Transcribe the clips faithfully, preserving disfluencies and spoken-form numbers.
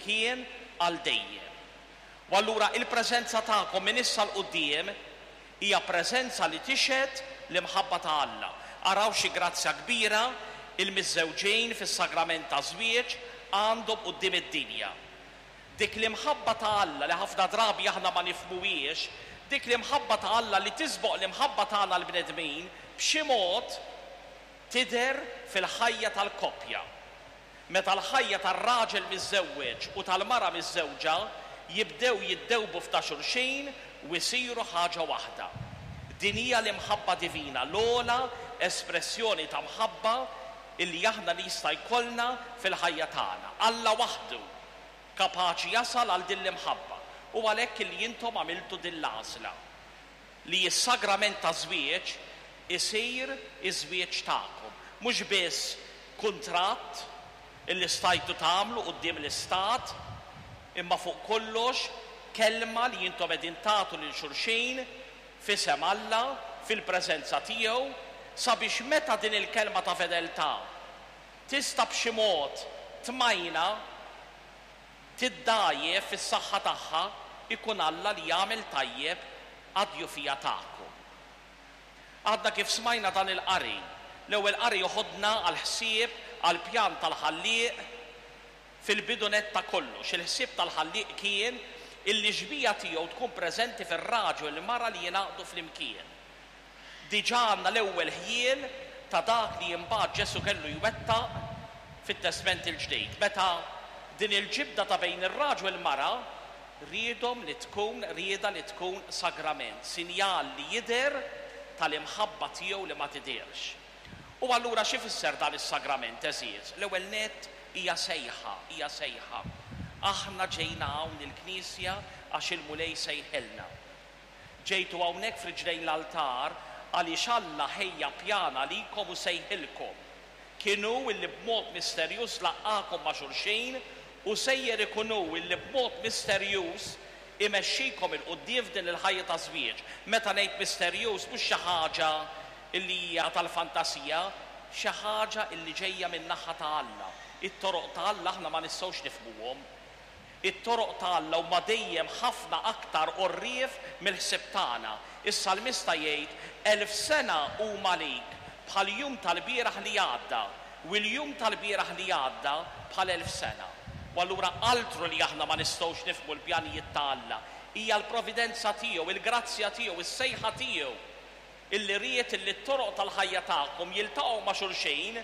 flimkien għal dejjem. U allura il-preżenza tagħkom minn issa 'l quddiem hija preżenza li tixhed l-imħabba ta' Alla. Araw xi grazzja kbira il-miżżewġin fis-sagrament taż-żwieġ għandhom quddiem id-dinja. Dik l-imħabba ta' Alla li ħafna drabi aħna ma nifhmuhiex, dik l-imħabba ta' Alla li tisboq l-imħabba tagħna l-bnedmin, b'xi mod tidher fil-ħajja tal-koppja. Meta l-ħajja tar-raġel miżżewweġ u tal-mara miżżewġa jibdew jiddewbu f'ta' xulxin u jsiru ħaġa waħda. Din hija l-imħabba divina, l-ogħla espressjoni ta' mħabba illi aħna li jista' jkollna fil-ħajja tagħna. Alla waħdu kapaċi jasal għal din l-imħabba, u għalhekk illi intom għamiltu din l-għażla li s-sagrament ta' żwieġ isir iż-żwieġ tagħkom. Mhux biss kuntratt illi stajtu tagħmlu quddiem l-istat, imma fuq kollox kelma li intom qegħdin tagħtu lil xulxin f'isem Alla fil-preżenza tiegħu, sabiex meta din il-kelma ta' fedeltà tista' b'xi mod tmajna, tiddajjef fis-saħħa tagħha, ikun Alla li jagħmel tajjeb għad-djufija tagħkom. Għadna kif smajna dan il-qari. L-ewwel qari joħodna għall-ħsieb, għall-pjan tal-ħallieq fil-bidu nett ta' kollox. Il-ħsieb tal-ħallieq kien illi xbieha tiegħu tkun preżenti fir-raġel u l-mara li jingħaqdu flimkien. Diġà għandna l-ewwel ħjiel ta' dak li imbagħad Ġesù kellu jwettaq fit-Testment il-Ġdid. Meta din il-ġibda ta' bejn ir-raġel u l-mara riedhom li tkun rieda li tkun sagrament, sinjal li jidher tal-imħabba tiegħu li ma tidhirx. U allura xi fisser dan is-sagrament, għeżież? L-ewwel nett hija sejħa, hija sejħa. Aħna ġejna hawn il-Knisja għax il-Mulej sejħilna. Ġejtu hawnhekk f'riġlejn l-altar għaliex Alla ħejja pjan għalikom u sejħilkom. Kien hu illi b'mod misterjuż laqqakom ma' xulxin u sejjer ikun hu illi b'mod misterjuż imexxikom 'il quddiem f'din il-ħajja ta' żwieġ. Meta ngħid misterjuż mhux xi ħaġa illi hija tal-fantasija, xi ħaġa illi ġejja min-naħa ta' Alla. It-toroq ta' Alla aħna ma nistgħux nifhmuhom. It-toroq ta' Alla huma dejjem ħafna aktar għorrief mill-ħsieb tagħna. Is-salmista jgħid, elf sena huma għalik bħal jum tal-bieraħ li għadda, u l-jum tal-bieraħ li għadda bħal elf sena. U allura altru li aħna ma nistgħux nifhmu l-pjanijiet ta' Alla, hija l-providenza tiegħu, il-grazzja tiegħu, is-sejħa tiegħu, illi ried illi t-toroq tal-ħajja tagħkom jiltaqgħu ma' xulxin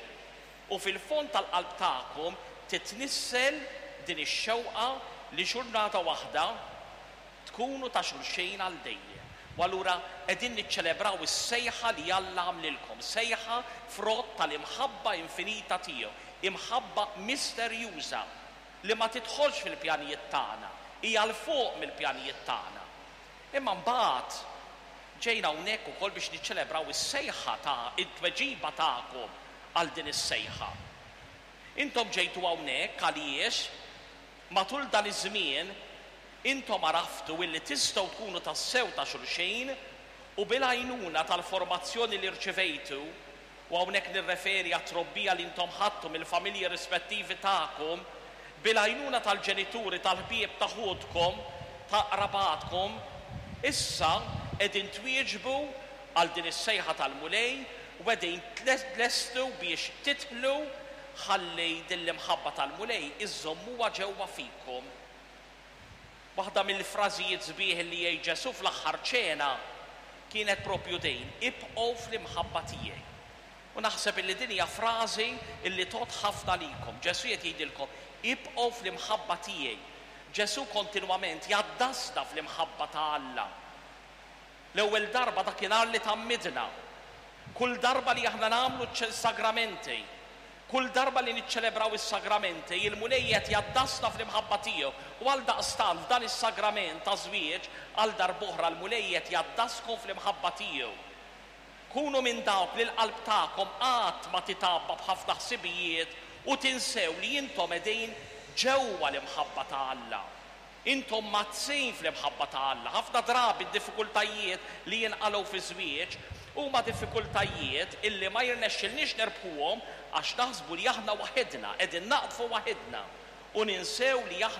u fil-fond tal-qalb tagħkom titnissel din ix-xewqa li ġurnata waħda tkunu ta' xulxin għal dejjem. U allura qegħdin niċċelebraw is-sejħa li Alla għamlilkom, sejħa frott tal-imħabba infinita tiegħu, imħabba misterjuża li ma tidħolx fil-pjanijiet tagħna, hija 'l fuq mill-pjanijiet tagħna. Imma mbagħad ġejna hawnhekk ukoll biex niċċelebraw is-sejħa ta' it-tweġiba tagħkom għal din is-sejħa. Intom ġejtu hawnhekk għaliex matul dan iż-żmien intom għaraftu illi tistgħu tkunu tassew ta' xulxin u bil-għajnuna tal-formazzjoni li rċevejtu, u hawnhekk nirreferi għat-trobbija li intom ħadtu mill-familji rispettivi tagħkom, bil-għajnuna tal-ġenituri, tal-ħbieb ta' ħutkom, ta' qrabatkom, issa qegħdin twieġbu għal din is-sejħa tal-Mulej u qegħdin tlestu biex tidħlu ħalli din l-imħabba tal-Mulej iżommuha ġewwa fikom. Waħda mill-frażijiet sbieħ li jgħid Ġesù fl-aħħar ċena kienet propju din, ibqgħu fl-imħabba tiegħi. U naħseb illi din hija frażi illi tgħodd ħafna likom. Ġesù qed jgħidilkom, ibqgħu fl-imħabba tiegħi. Ġesù kontinwament jaddasna fl-imħabba ta' Alla. L-ewwel darba dakinhar li tgħammidna, kull darba li aħna nagħmlu s-sagramenti, kull darba li niċċelebraw is-sagramenti, il-Mulej qed jaddasna fl-imħabba tiegħu. U għal daqstant f'dan is-sagrament ta' żwieġ, għal darb'oħra l-Mulej qed jaddaskom fl-imħabba tiegħu. Kunu minn dawk li l-qalb tagħkom qatt ma titgħabba b'ħafna ħsibijiet u tinsew li intom qegħdin ġewwa l-imħabba ta' Alla. Intom mazzin fl-imħabba ta' Alla. Ħafna drabi d-diffikultajiet li jinqalgħu fi żwieġ huma diffikultajiet illi ma jirnexxilniex nerbħuhom għax naħsbu li aħna waħedna, qegħdin naqdfu waħedna u ninsew li aħna